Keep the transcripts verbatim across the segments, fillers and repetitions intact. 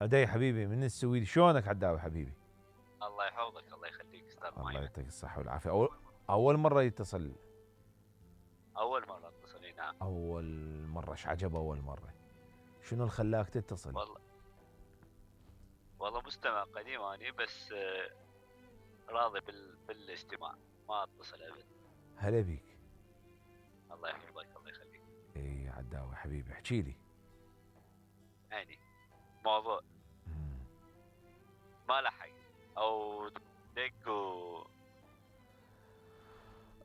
عدي حبيبي من السويد، شلونك عداوي حبيبي؟ الله يحفظك الله يخليك استاذ الله مايمن. يعطيك الصحة والعافية. أول أول مرة يتصل. اول مره اتصل لي، نعم. أول مرة، ايش عجب أول مرة؟ شنو اللي خلاك تتصل؟ والله والله مستمع قديم اني، بس آه، راضي بال... بالاستماع، ما اتصل ابد. هلا بيك. الله يحفظك الله يخليك. اي عداوي حبيبي احكي لي. يعني موضوع مم. ما له حق او دق و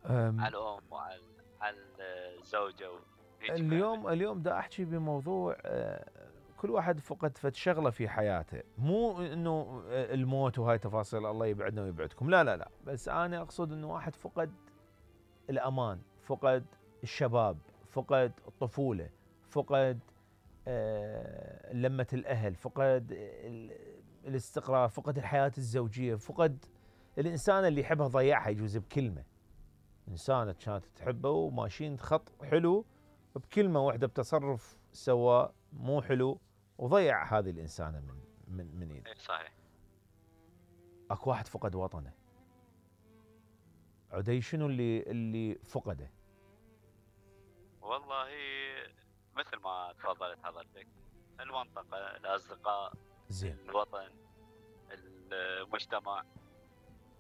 أم، على الام وعلى على الزوجه وهيك، اليوم اليوم دا احكي بموضوع آه، كل واحد فقد فد شغله في حياته، مو انه آه، الموت وهاي تفاصيل الله يبعدنا ويبعدكم، لا لا لا، بس انا اقصد انه واحد فقد الامان، فقد الشباب، فقد الطفوله، فقد آه، لمة الاهل، فقد ال- الاستقرار، فقد الحياه الزوجيه، فقد الانسان اللي يحبها ضيعها يجوز بكلمه. انسانه كانت تحبه وماشيين خط حلو، بكلمه واحده بتصرف سوى مو حلو وضيع هذه الانسانه من من من ايده. اي صحيح. اكو واحد فقد وطنه. عدي شنو اللي اللي فقده؟ والله مثل ما تفضلت حضرتك، المنطقه، الاصدقاء، زين. الوطن، المجتمع،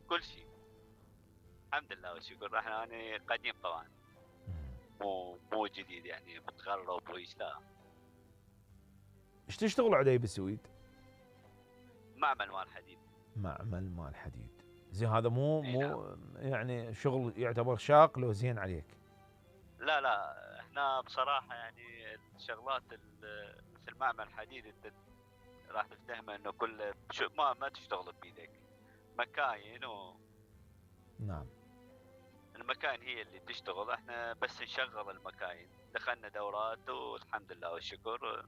كل شيء. الحمد لله والشكر. احنا انا قديم طبعا، مو مو جديد يعني متغرب وإيش، لا. ايش تشتغل عدي بالسويد؟ معمل مال حديد. معمل مال حديد. زين هذا مو اي نعم. مو يعني شغل يعتبر شاق لو زين عليك؟ لا لا، احنا بصراحة يعني الشغلات ال- مثل معمل حديد انت راح تفتهمه انه كله شو ما ما تشتغل بيدك، مكاين، و نعم. المكاين هي اللي تشتغل، احنا بس نشغل المكاين. دخلنا دورات والحمد لله والشكر.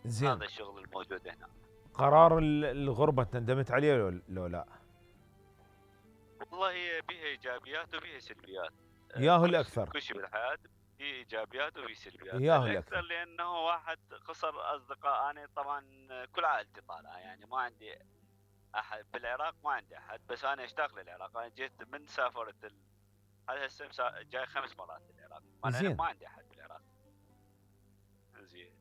زين. هذا الشغل الموجود هنا. قرار ال- الغربه تندمت عليه لو, لو لا؟ والله بيها ايجابيات وبيها سلبيات. ياهو كل شيء الاكثر. كل شيء بالحياه في ايجابيات وفي سلبيات. ياهو الاكثر الاكثر. لانه واحد خسر اصدقاء. انا طبعا كل عائلتي طالعه، يعني ما عندي احد بالعراق، ما عندي احد، بس انا اشتاق للعراق. انا جيت من سافرت ال... هذا هسه مسا- جاي خمس مرات للعراق، مع العلم زين. ما عندي احد بالعراق. زين.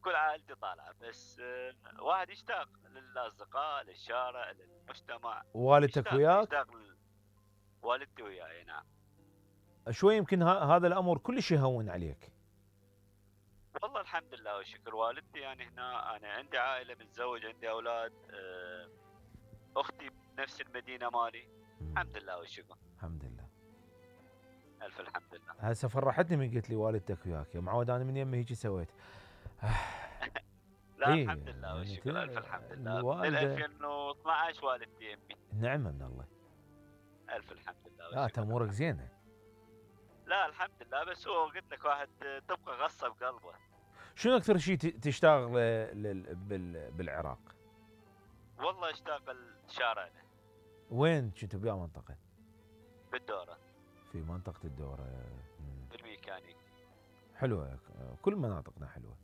كل عائلتي طالعه، بس آه، واحد يشتاق للاصدقاء، للشارع، للمجتمع. والدتك يشتاق وياك؟ يشتاق ل- والدتي وياي، نعم. شوي يمكن ه- هذا الامر كلش يهون عليك. والله الحمد لله والشكر. والدتي يعني هنا، انا عندي عائله، متزوج، عندي اولاد. آه، اختي بنفس المدينه مالي. الحمد لله والشكر. الحمد لله. الف الحمد لله. هسه فرحتني من قلت لي والدتك وياك، يا معود انا من يمي هيك سويت. لا اي الحمد لله يعني والشكر. الف الحمد لله. من الوالده ألفين واثنعش والدتي يمي. نعمه من الله. الف الحمد لله لا والشكر. امورك زينه. لا الحمد لله، بس هو قلت لك واحد تبقى غصه بقلبه. شنو اكثر شيء ت- تشتاق ل- لل- بال- بالعراق؟ والله اشتاق لشارعنا وين كنتوا بيا منطقه؟ بالدوره، في منطقه الدوره. مم. بالميكانيك. حلوه، كل مناطقنا حلوه.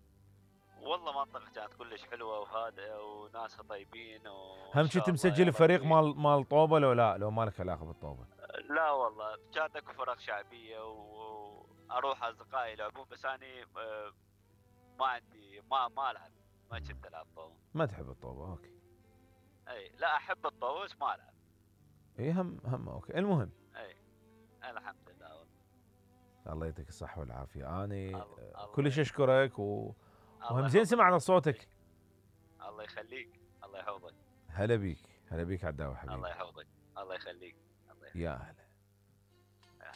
والله منطقة كانت كلش حلوة وهادئة وناسها طيبين هم وإن كنت شاء الله يا مسجل فريق ربي. مال مال طوبه لو لا؟ لو مالك علاقه بالطوبه؟ لا والله كانت اكو فرق شعبية واروح اصدقائي يلعبون، بس اني آه، ما عندي ما ما العب، ما كنت العب طاولة. ما تحب الطوبه؟ اوكي. اي لا، احب الطاولة بس ما العب. اي هم هم اوكي. المهم، اي الحمد لله والله. الله يعطيك الصحه والعافيه. اني الله كلش الله اشكرك و... الله وهم زين يحفظك. سمعنا صوتك. الله يخليك الله يحفظك. هلا بيك، هلا بيك عداوي حبيبي. الله يحفظك الله يخليك الله يخليك. يا هلا.